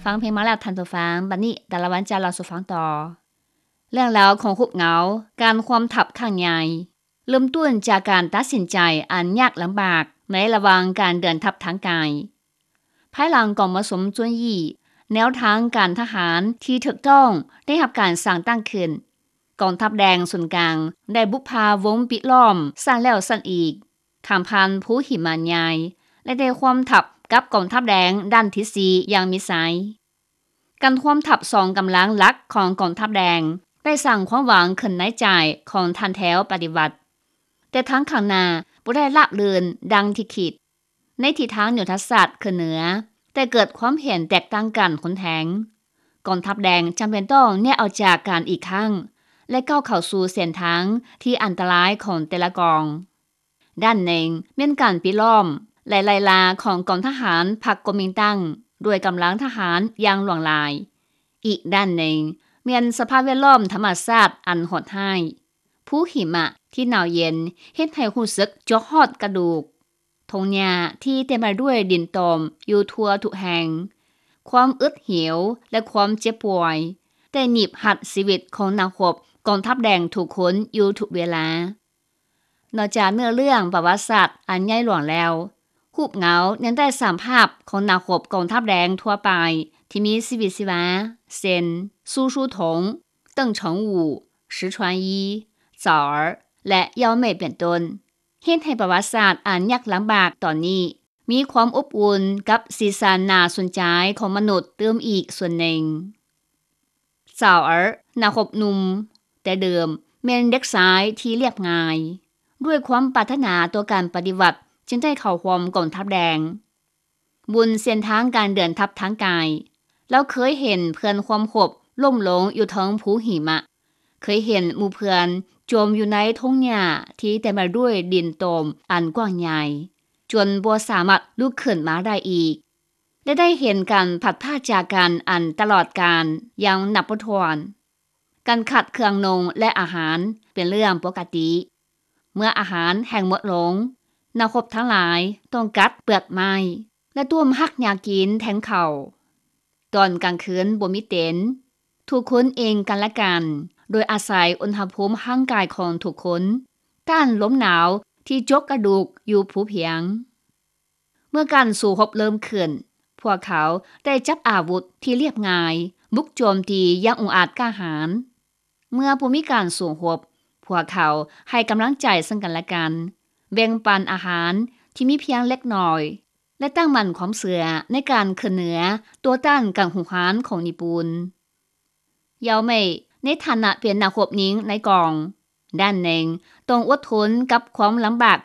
ຟັງເພງມາແລ້ວທ່ານຜູ້ຟັງ, ບັດນີ້ຕາລະວັນຈະເລົ່າສູ່ຟັງຕໍ່. ເລື່ອງລາວຂອງຮູບເງົາການຮ່ວມທັບຄັ້ງໃຫຍ່ ເລີ່ມຕົ້ນຈາກການຕັດສິນໃຈອັນຍາກລຳບາກໃນລະຫວ່າງການເດີນທັບທາງກາຍ. ພາຍຫຼັງກອງປະຊຸມຈຸນຢີ້ ແນວທາງການທະຫານທີ່ຖືກຕ້ອງໄດ້ຮັບການສ້າງຕັ້ງຂຶ້ນ, ກອງທັບແດງສູນກາງໄດ້ບຸກພາວົງປິດລ້ອມຊັ້ນແລ້ວຊັ້ນອີກ, ຂ້າມຜ່ານພູຫິມະໃຫຍ່ ແລະ ໄດ້ຮ່ວມທັບກັບກອງທັບແດງດ້ານທິດສີ່ຢ່າງມິດໄຊ. ການຮ່ວມທັບສອງກຳລັງຫຼັກຂອງກອງທັບແດງ ໄດ້ສ້າງຄວາມຫວັງຂຶ້ນໃນໃຈຂອງທ່ານແຖວປະຕິວັດ, ແຕ່ທາງຂ້າງໜ້າບໍ່ໄດ້ລາບລື່ນດັ່ງທີ່ຄິດ. ໃນທິດທາງຍຸດທະສາດຂຶ້ນເໜືອ ແຕ່ເກີດຄວາມເຫັນແຕກຕ່າງກັນຮຸນແຮງ, ກອງທັບແດງຈຳເປັນຕ້ອງແຍກອອກຈາກກັນອີກຄັ້ງ ແລະ ກ້າວເຂົ້າສູ່ເສັ້ນທາງທີ່ອັນຕະລາຍຂອງແຕ່ລະກອງ. ດ້ານໜຶ່ງແມ່ນການປິດລ້ອມ ແລະ ໄລ່ລ່າຂອງກອງທະຫານພັກກົວມິນຕັງດ້ວຍກຳລັງທະຫານຢ່າງຫຼວງຫຼາຍ. ອີກດ້ານໜຶ່ງແມ່ນສະພາບແວດລ້ອມທຳມະຊາດອັນໂຫດຮ້າຍ, ພູຫິມະທີ່ໜາວເຢັນເຮັດໃຫ້ຮູ້ສຶກເຈາະຮອດກະດູກ, ທົ່ງຫຍ້າທີ່ເຕັມໄປດ້ວຍດິນຕົມຢູ່ທົ່ວທຸກແຫ່ງ, ຄວາມອຶດຫິວ ແລະ ຄວາມເຈັບປ່ວຍ ໄດ້ໜີບຮັດຊີວິດຂອງນັກຮົບກອງທັບແດງທຸກຄົນຢູ່ທຸກເວລາ. ນອກຈາກເນື້ອເລື່ອງປະຫວັດສາດອັນໃຫຍ່ຫຼວງແລ້ວ, ຮູບເງົາຍັງໄດ້ສາມພາບຂອງນັກຮົບກອງທັບແດງທົ່ວໄປທີ່ມີຊີວິດຊີວາ ເຊັ່ນ ຊູຊູຖົງ, ເຕີງເສີງອູ່, ຊືຊວນຢີ, ເຈົ້າເອີ ແລະ ເຍົາເມຍເປັນຕົ້ນ, ເຮັດໃຫ້ປະຫວັດສາດອັນຍາກລຳບາກຕອນນີ້ ມີຄວາມອົບອຸ່ນກັບສີສັນໜ້າສົນໃຈຂອງມະນຸດຕື່ມອີກສ່ວນໜຶ່ງ. ເຈົ້າເອີ ນັກຮົບໜຸ່ມແຕ່ເດີມແມ່ນເດັກຊາຍທີ່ລຽບງ່າຍ, ດ້ວຍຄວາມປາດຖະໜາຕໍ່ການປະຕິວັດຈຶ່ງໄດ້ເຂົ້າຮ່ວມກອງທັບແດງ. ບົນເສັ້ນທາງການເດີນທັບທາງກາຍ, ລາວເຄີຍເຫັນເພື່ອນຮ່ວມຮົບລົ້ມລົງຢູ່ເທິງພູຫິມະ, ເຄີຍເຫັນໝູ່ເພື່ອນຈົມຢູ່ໃນທົ່ງຫຍ້າທີ່ເຕັມໄປດ້ວຍດິນຕົມອັນກວ້າງໃຫຍ່ ຈົນບໍ່ສາມາດລຸກຂຶ້ນມາໄດ້ອີກ ແລະ ໄດ້ເຫັນການພັດພາກຈາກກັນອັນຕະຫຼອດການຢ່າງນັບບໍ່ຖ້ວນ. ການຂາດເຄື່ອງນຸ່ງ ແລະ ອາຫານເປັນເລື່ອງປົກກະຕິ. ເມື່ອອາຫານແຫ້ງໝົດລົງ, ນັກຮົບທັງຫຼາຍຕ້ອງກັດເປືອກໄມ້ ແລະ ຕົ້ມຮາກຫຍ້າກິນແທນເຂົ້າ. ຕອນກາງຄືນບໍ່ມີເຕັນ, ທຸກຄົນເອງກັນແລະກັນ ໂດຍອາໄສອຸນຫະພູມຮ່າງກາຍຂອງທຸກຄົນ ຕ້ານລົມໜາວທີ່ຈົກກະດູກຢູ່ພູພຽງ. ເມື່ອການສູ້ຮົບເລີ່ມຂຶ້ນ, ພວກເຂົາໄດ້ຈັບອາວຸດທີ່ລຽບງ່າຍ ບຸກໂຈມຕີຢ່າງອົງອາດກ້າຫານ. ເມື່ອບໍ່ມີການສູ້ຮົບ, ພວກເຂົາໃຫ້ກຳລັງໃຈເຊິ່ງກັນແລະກັນ, ແບ່ງປັນອາຫານທີ່ມີພຽງເລັກນ້ອຍ ແລະ ຕັ້ງໝັ້ນຄວາມເຊື່ອໃນການຂຶ້ນເໜືອຕໍ່ຕ້ານການຮຸກຮານຂອງຍີ່ປຸ່ນ. ເຍົາເມຍ ໃນຖານະເປັນນັກຮົບຍິງໃນກອງ, ດ້ານໜຶ່ງຕ້ອງອົດທົນກັບຄວາມລຳບາກຂອງ